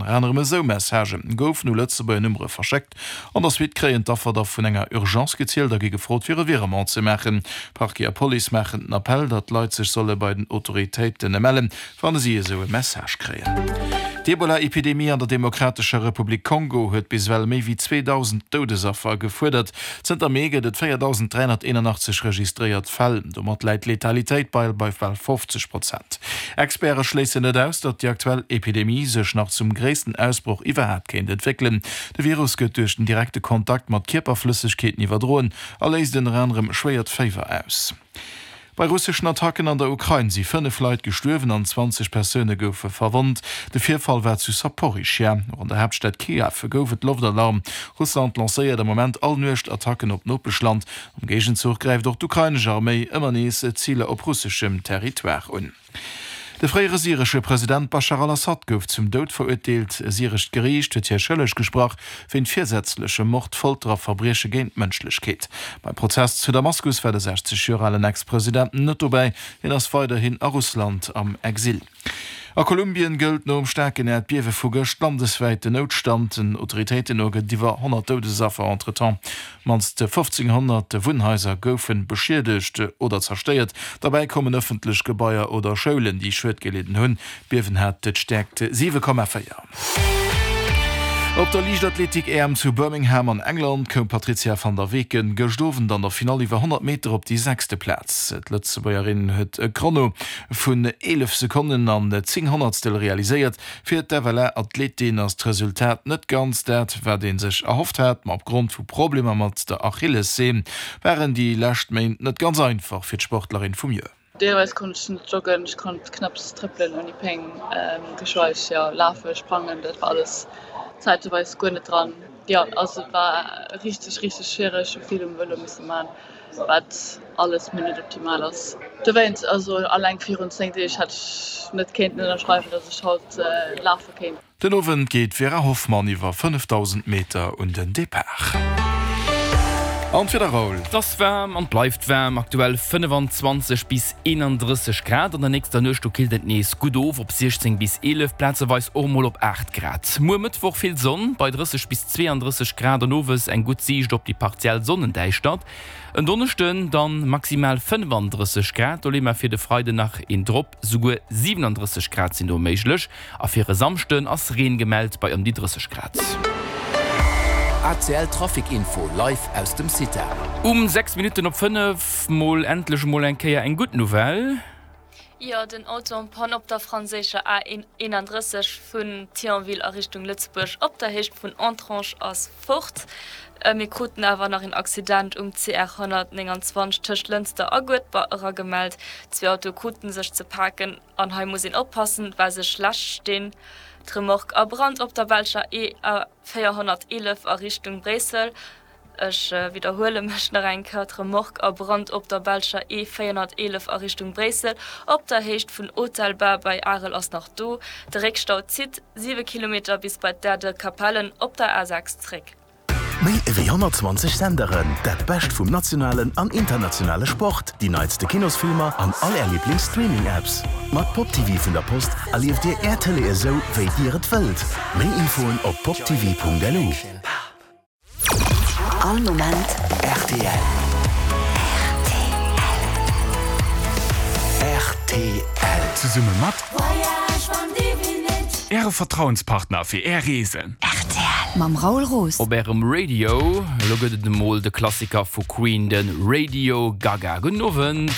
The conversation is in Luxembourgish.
Ënner anerem esou Messagë goufen u Lëtzebuerger Nummere verschéckt. An der Suite kréien d'Affer da vun enger Urgence gezielt a gi gefrot, fir e Virement ze maachen. Parquet a Police maachen den Appell, datt d'Leit sech solle bei den Autoritéite mellen, wann si esou e Message kréien. D'Ebola-Epidemie an der Demokratescher Republik Kongo huet bis ewell méi wéi 2.000 Doudesaffer gefuerdert. Zënter Mee gëtt et 4.381 registréiert Fäll. Domat läit d'Letalitéit bei bal 50 Prozent. Experte schléissen net aus, datt déi aktuell Epidemie sech nach zum gréissten Ausbroch iwwerhaapt kéint entwéckelen. De Virus gëtt duerch den direkte Kontakt mat Kierperflëssegkeeten iwwerdroen a léist ënner anerem schwéiert Féiwer aus. Bei russeschen Attacken an der Ukrain si 5 Leit gestuerwen an 20 Persoune goufe verwonnt. De Virfall war zu Saporischschja. Och an der Haaptstad Kiew gouf et Loftalarm. Russland lancéiert am Moment all Nuecht Attacken op d'Nopeschland. Am Géigenzuch gräift och d'ukrainesch Arméi ëmmer nees Ziler op russeschem Territoire un. De fréiere syresche President Baschar al-Assad gouf zum Doud verurteelt. E syrescht Geriicht huet hie schëlleg gesprach wéint virsätzlechem Mord, Folter a Verbrieche géint d'Mënschlechkeet. Beim Prozess zu Damaskus war de 60 Joer alen Ex-President net dobäi. Hien ass weiderhin a Russland am Exil. A Kolumbien gëllt nom staarken Äerdbiewe vu gëscht landeswäit den Noutstand. Den Autoritéiten no gëtt et iwwer 100 Doudesaffer. Entretemps Mannst 1.500 Wunnhaiser goufe beschiedegt oder zerstéiert. Derbäi kommen ëffentlech Gebaier oder Schoulen, déi Schued gelidden hunn. D'Biewen hat d'Stäerkt 7,4. Op der Liichtathletik-EM zu Birmingham an England koum d'Patrizia van der Weken gëscht Owend an der Finall iwwer 100 Meter op déi sechste Plaz. D'Lëtzebuergerin huet e Chrono vun 11 Sekonnen an 10 Honnertstel realiséiert. Fir d'FLA-Athletin ass d'Resultat net ganz dat, wat ee sech erhofft hat, ma opgrond vu Problemer mat der Achillesseen waren déi lescht Méint net ganz einfach fir d'Sportlerin vum Joer. Deelweis konnt ech net joggen, ech konnt knapps trëppelen ouni Péng, geschweig jo lafen, sprangen, dat war alles zäiteweis guer net dran. Jo, also et war richteg, richteg schwiereg, hu vill um Vëlo misse man, wat alles méi net optimal ass. Dowéinst, also alleng virun 10 Deeg hätt ech net kéinten ënnerschreiwen, datt ech haut lafe kéint. Den Owend geet d'Vera Hoffmann iwwer 5000 Meter un den Depart. An d'Wieder, Raoul? Et ass waarm an et bleift waarm, aktuell 25 bis 31 Grad. An der nächster Nuecht do killt et nees gutt of op 16 bis 11, plazeweis och mol op 8 Grad. Muer Mëttwoch vill Sonn bei 30 bis 32 Grad an owes eng gutt Siicht op déi partiell Sonnendäischtert. En Donneschden dann maximal 35 Grad, do leeë mer fir de Freiden nach een drop, souguer 37 Grad sinn do méiglech. A fir e Samschden ass Reen gemellt bei ëm déi 30 Grad. ACL Trafic Info live aus dem CITA. Um 6 Minutten op 5 mol endlech emol eng Kéier eng gutt Nouvelle. Jo, den Auto en panne op der franséischer A 31 vun Thionville a Richtung Lëtzebuerg op der Héicht vun Entrange ass fort. Mir kruten awer nach een Accident um CR 129 tëscht Lënster a Guedber eragemellt. Zwee Autoe kruten sech ze paken an hei muss een oppassen, well se schlecht stinn. D'Remorque a Brand op der belscher E 411 a Richtung Bréissel. Ech widderhuele mech nach eng Kéier, D'Remorque a Brand op der belscher E 411 a Richtung Bréissel op der Héicht vun Autelbas bei Arel ass nach do. De Réckstau zitt 7 Kilometer bis bei d'Aire de Capellen op der A6 zréck. Méi ewéi 120 Senderen, dat Bescht vum nationalen an internationale Sport, déi neitste Kinosfilmer an all Är Liiblings-Streaming-Apps. Mat Pop TV vun der Post erlieft Dir Är Tëlee esou, wéi Dir et wëllt. Méi Infoen op poptv.lu. All Moment rtl. Rtl. Zesumme mat Äre Vertrauenspartner fir Är Reesen. Rtl. Mam Raoul Roos. Op Ärem Radio. Elo gëtt et emol de Klassiker vu Queen, de Radio Gaga. Gudden Owend.